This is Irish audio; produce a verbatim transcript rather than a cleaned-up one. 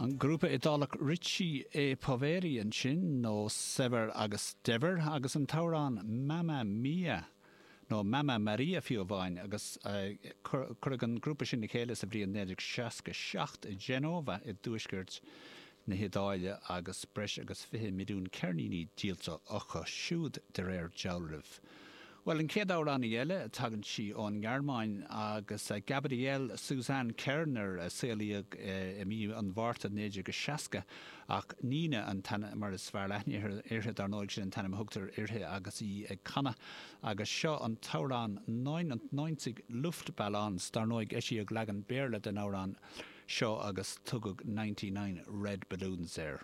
An grúpa Iodálach Ricci e Poveri ansin nó Saibhir agus Daibhir agus an t-amhrán Mamma Mia nó Mamma Maria fiú amháin agus cuireadh an grúpa sin le chéile sa bhliain naoi déag seasca seacht i Genova i dtuaisceart na hIodáile agus breis agus fiche milliún ceirníní díolta acu siúd de réir dealraimh. Bhuel, an chéad amhránaí eile, tagann sí ón nGearmáin agus Gabriele Susanne Kerner a saolaíodh i mí an Mhárta naoi déag seasca ach Nena an t-ainm mar is fearr aithne uirthi, dar ndóigh, sin an t-ainm a thugtar uirthi agus í ag canadh. Agus seo an t-amhrán Neunundneunzig Luftballons, dar ndóigh eisíodh leagan Béarla den amhrán seo agus tugadh Ninety Nine Red Balloons air.